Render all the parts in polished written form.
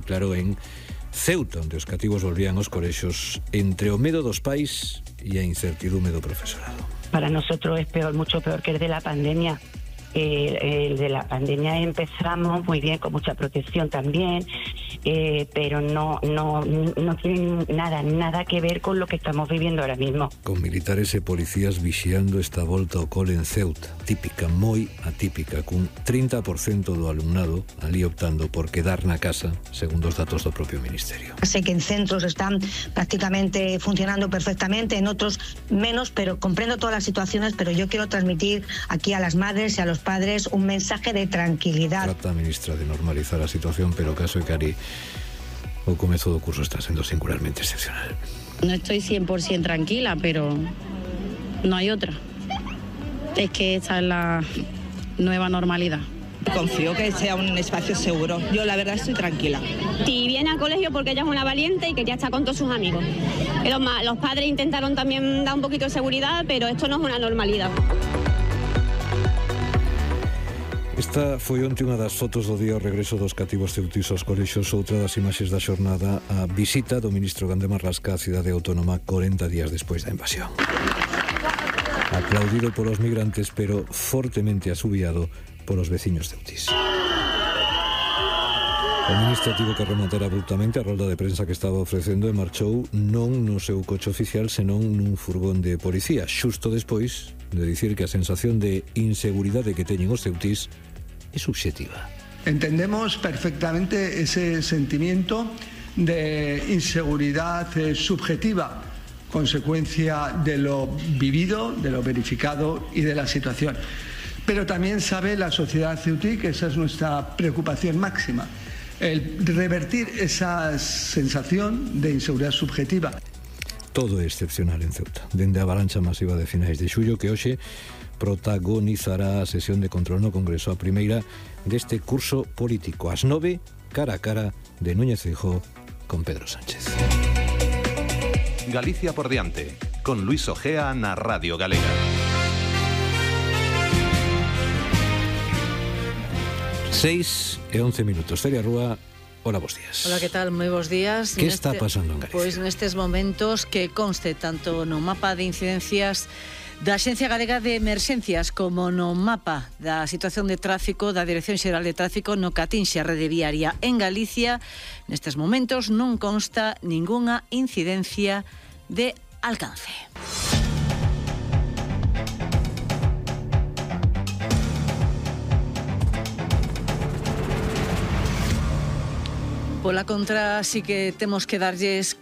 Claro, en Ceuta, onde os cativos volvían aos colexos entre o medo dos pais e a incertidume do profesorado. Para nosotros es peor, mucho peor que el de la pandemia. El de la pandemia empezamos muy bien, con mucha protección también, pero no tiene nada que ver con lo que estamos viviendo ahora mismo. Con militares e policías vixiando esta volta ao cole en Ceuta, típica, moi atípica, cun 30% do alumnado ali optando por quedar na casa, segundo os datos do propio Ministerio. Sé que en centros están prácticamente funcionando perfectamente, en otros menos, pero comprendo todas las situaciones, pero yo quiero transmitir aquí a las madres y a los padres un mensaje de tranquilidad. Trata a ministra de normalizar a situación, pero o caso é que Ari, o comezo do curso está sendo singularmente excepcional. No estoy 100% tranquila, pero no hay otra. Es que esta es la nueva normalidad. Confío que sea un espacio seguro. Yo la verdad estoy tranquila. Y viene al colegio porque ella es una valiente y quería estar con todos sus amigos. Los padres intentaron también dar un poquito de seguridad, pero esto no es una normalidad. Esta foi onte unha das fotos do día ao regreso dos cativos ceutís aos colexos, outra das imaxes da xornada a visita do ministro Gande Marlasca á cidade autónoma 40 días despois da invasión. Aplaudido polos migrantes, pero fortemente asubiado polos veciños ceutís. O ministro tivo que rematar abruptamente a rolda de prensa que estaba ofrecendo e marchou non no seu coche oficial, senón nun furgón de policía, xusto despois de dicir que a sensación de inseguridade que teñen os ceutís é subxetiva. Entendemos perfectamente ese sentimiento de inseguridad subjetiva, consecuencia de lo vivido, de lo verificado y de la situación. Pero también sabe la sociedad ceutí que esa es nuestra preocupación máxima, el revertir esa sensación de inseguridad subjetiva. Todo é excepcional en Ceuta, dende a avalancha masiva de finais de xullo que hoxe protagonizará a sesión de control no Congreso, a primeira deste curso político, ás 9, cara a cara de Núñez Feijóo con Pedro Sánchez. Galicia por diante, con Luis Ojea na Radio Galega. 6:11. Feria Rúa, hola, bos días. Hola, que tal? Moi bos días. Que está pasando en Galicia? Pois nestes momentos que conste tanto no mapa de incidencias da Axencia Galega de Emerxencias como no mapa da situación de tráfico da Dirección Xeral de Tráfico no que atinxe a rede viaria en Galicia, nestes momentos non consta ningunha incidencia de alcance. Pola contra, sí que temos que darlles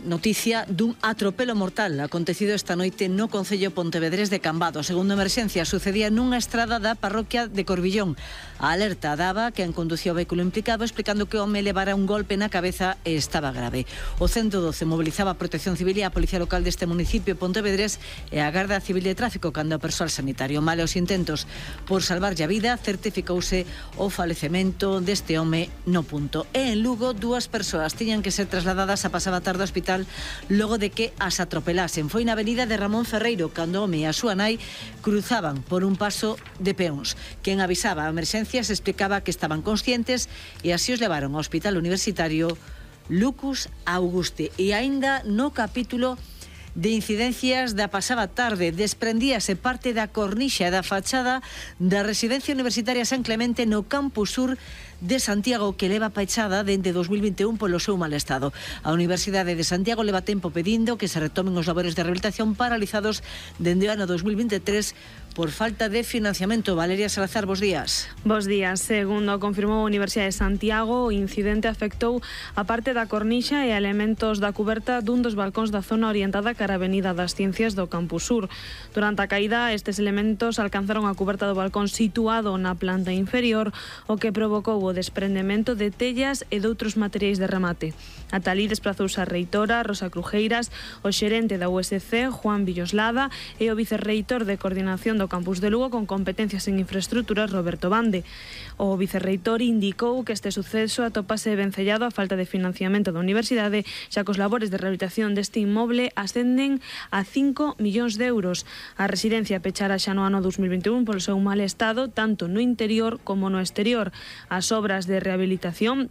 noticia dun atropelo mortal acontecido esta noite no concello pontevedrés de Cambados. Segundo Emerxencia, sucedía nunha estrada da parroquia de Corbillón. A alerta daba que conducía o vehículo implicado, explicando que o home levara un golpe na cabeza e estaba grave. O 112 mobilizaba a Protección Civil e a Policía Local deste municipio pontevedrés e a Garda Civil de Tráfico cando o persoal sanitario. Male os intentos por salvarlle a vida, certificouse o falecemento deste home no punto. E en Lugo, 2 persoas tiñan que ser trasladadas a pasada tarde ao hospital logo de que as atropelasen. Foi na avenida de Ramón Ferreiro cando o home e a súa nai cruzaban por un paso de peóns. Quen avisaba a emerxencias explicaba que estaban conscientes e así os levaron ao hospital universitario Lucas Auguste. E aínda no capítulo de incidencias da pasada tarde desprendíase parte da cornixa e da fachada da residencia universitaria San Clemente no campus sur de Santiago, que leva pechada dende 2021 polo seu mal estado. A Universidade de Santiago leva tempo pedindo que se retomen os labores de rehabilitación paralizados dende o ano 2023 por falta de financiamento. Valeria Salazar, bos días. Bos días. Segundo confirmou a Universidade de Santiago, o incidente afectou a parte da cornixa e a elementos da cuberta dun dos balcóns da zona orientada cara a Avenida das Ciencias do Campus Sur. Durante a caída, estes elementos alcanzaron a cuberta do balcón situado na planta inferior, o que provocou o desprendemento de tellas e doutros materiais de remate. Ata alí desplazouse a reitora Rosa Crujeiras, o xerente da USC, Juan Villoslada, e o vicerreitor de Coordinación do Campus de Lugo con competencias en infraestructuras, Roberto Bande. O vicerreitor indicou que este suceso atopase vencellado a falta de financiamento da universidade, xa que os labores de rehabilitación deste inmoble ascenden a 5 millóns de euros. A residencia pechara xa no ano 2021 polo seu mal estado, tanto no interior como no exterior. As obras de rehabilitación